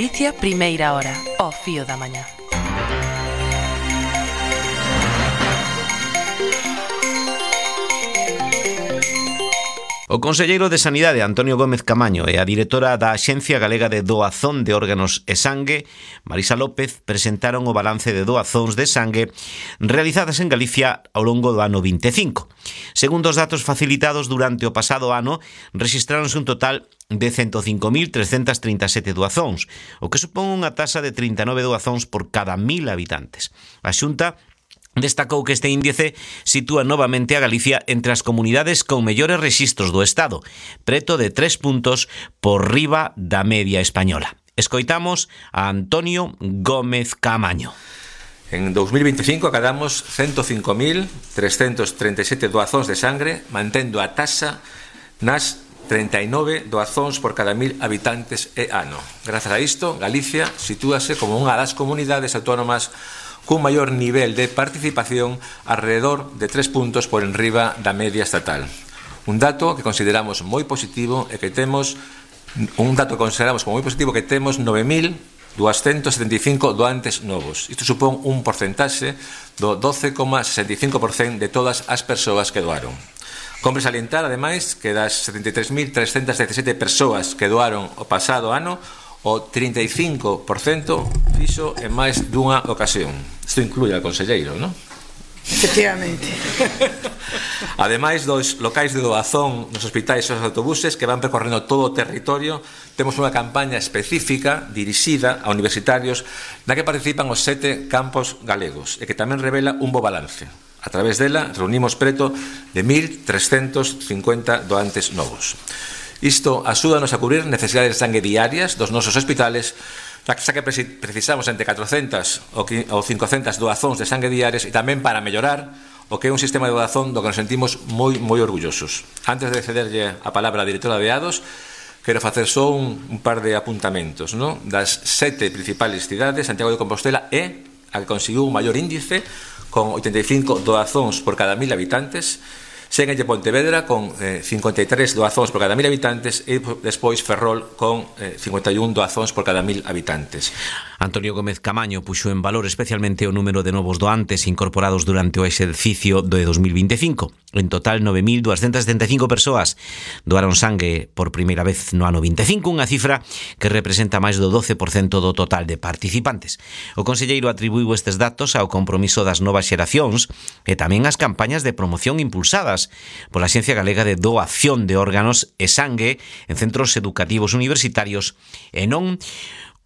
Galicia, primeira hora, ao fío da mañá. O conselleiro de Sanidade, Antonio Gómez Camaño, e a directora da Axencia Galega de Doazón de Órganos e Sangue, Marisa López, presentaron o balance de doazóns de sangue realizadas en Galicia ao longo do ano 25. Segundo os datos facilitados durante o pasado ano, rexistráronse un total de 105.337 doazóns, o que supón unha taxa de 39 doazóns por cada 1.000 habitantes. A Xunta destacou que este índice sitúa novamente a Galicia entre as comunidades con mellores rexistros do Estado, preto de 3 puntos por riba da media española. Escoitamos a Antonio Gómez Camaño. En 2025 acadamos 105.337 doazóns de sangre, mantendo a taxa nas 39 doazóns por cada 1.000 habitantes e ano. Grazas a isto, Galicia sitúase como unha das comunidades autónomas cun maior nivel de participación alrededor de 3 puntos por enriba da media estatal. Un dato que consideramos moi positivo e que temos 9.275 doantes novos. Isto supón un porcentaxe do 12,65% de todas as persoas que doaron. Compre salientar, ademais, que das 73.317 persoas que doaron o pasado ano, o 35% fixo en máis dunha ocasión. Isto inclui ao conselleiro, non? Efectivamente. Ademais dos locais de doazón nos hospitais e os autobuses que van percorrendo todo o territorio, temos unha campaña específica dirixida a universitarios na que participan os 7 campos galegos e que tamén revela un bo balance. A través dela reunimos preto de 1.350 doantes novos. Isto axúdanos a cubrir necesidades de sangue diarias dos nosos hospitales, xa que precisamos entre 400 ou 500 doazóns de sangue diarias e tamén para mellorar o que é un sistema de doazón do que nos sentimos moi orgullosos. Antes de cederlle a palabra á directora de ADOS, quero facer só un par de apuntamentos, non? Das 7 principales cidades, Santiago de Compostela é a que conseguiu un maior índice con 85 doazóns por cada 1.000 habitantes, Séguenlle Pontevedra con 53 doazóns por cada 1.000 habitantes e despois Ferrol con 51 doazóns por cada 1.000 habitantes. Antonio Gómez Camaño puxo en valor especialmente o número de novos doantes incorporados durante o exercicio de 2025. En total, 9.275 persoas doaron sangue por primeira vez no ano 25, unha cifra que representa máis do 12% do total de participantes. O conselleiro atribuiu estes datos ao compromiso das novas xeracións e tamén ás campañas de promoción impulsadas pola Axencia Galega de Doación de Órganos e Sangue en centros educativos universitarios e non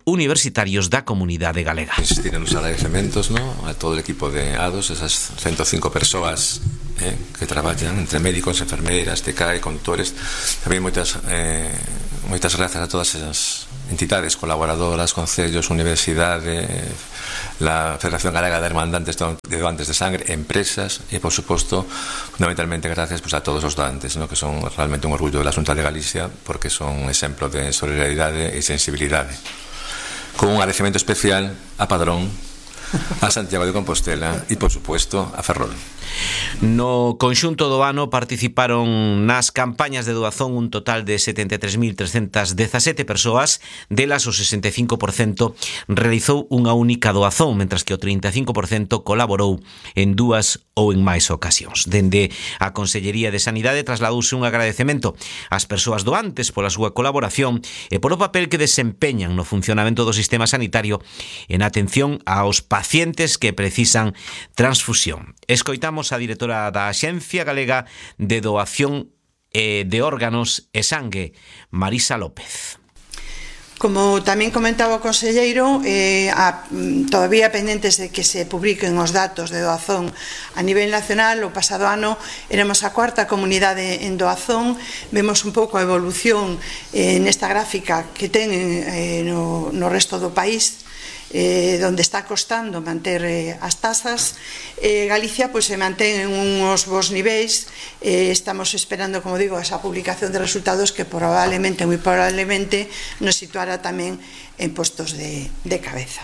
universitarios da comunidade galega. Insistir en os agradecementos, ¿no?, a todo o equipo de ADOS, esas 105 persoas que traballan entre médicos, enfermeiras, TCAE, conductores. Tamén moitas grazas a todas esas entidades colaboradoras, concellos, universidade, la Federación Galega de Hermandantes de Doantes de Sangre, empresas e, por suposto, fundamentalmente gracias a todos os doantes, ¿no?, que son realmente un orgullo de la Xunta de Galicia porque son un exemplo de solidaridade e sensibilidade. Con un agradecemento especial a Padrón, a Santiago de Compostela e, por supuesto, a Ferrol. No conxunto do ano participaron nas campañas de doazón un total de 73.317 persoas, delas o 65% realizou unha única doazón, mentras que o 35% colaborou en 2 ou en máis ocasións. Dende a Consellería de Sanidade trasladouse un agradecemento ás persoas doantes pola súa colaboración e polo papel que desempeñan no funcionamento do sistema sanitario en atención aos pacientes que precisan transfusión. Escoitamos a directora da Axencia Galega de Doación de Órganos e Sangue, Marisa López. Como tamén comentaba o conselleiro, todavía pendentes de que se publiquen os datos de doazón a nivel nacional. O pasado ano éramos a 4ª comunidade en doazón. Vemos un pouco a evolución nesta gráfica que ten no resto do país, donde está costando manter as tasas. Galicia se mantén en uns bons niveis. Estamos esperando, como digo, esa publicación de resultados que moi probablemente nos situará tamén en postos de cabeza.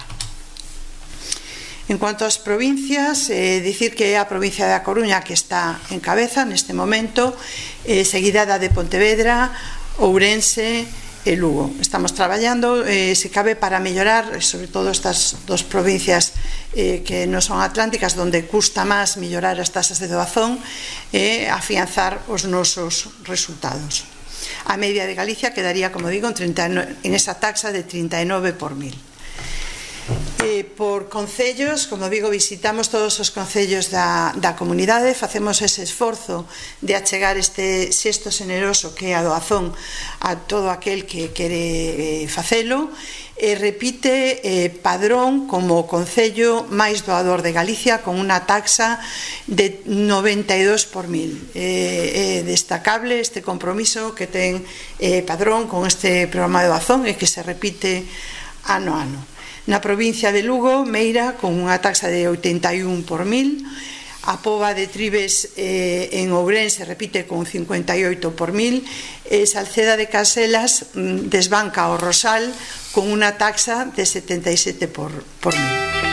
En cuanto ás provincias, dicir que é a provincia da Coruña que está en cabeza neste momento, seguida da de Pontevedra, Ourense, e Lugo. Estamos traballando, se cabe, para mellorar, sobre todo estas dos provincias que non son atlánticas, donde custa máis mellorar as tasas de doazón e afianzar os nosos resultados. A media de Galicia quedaría, como digo, en esa taxa de 39 por 1000. Por concellos, como digo, visitamos todos os concellos da comunidade, facemos ese esforzo de achegar este xesto xeneroso que é a doazón a todo aquel que quere facelo, e repite Padrón como o concello máis doador de Galicia, con unha taxa de 92 por 1000. É destacable este compromiso que ten Padrón con este programa de doazón e que se repite ano a ano. Na provincia de Lugo, Meira, con unha taxa de 81 por 1000, a Pova de Tribes en Ourense repite con 58 por 1000, e Salceda de Caselas desbanca o Rosal con unha taxa de 77 por 1000.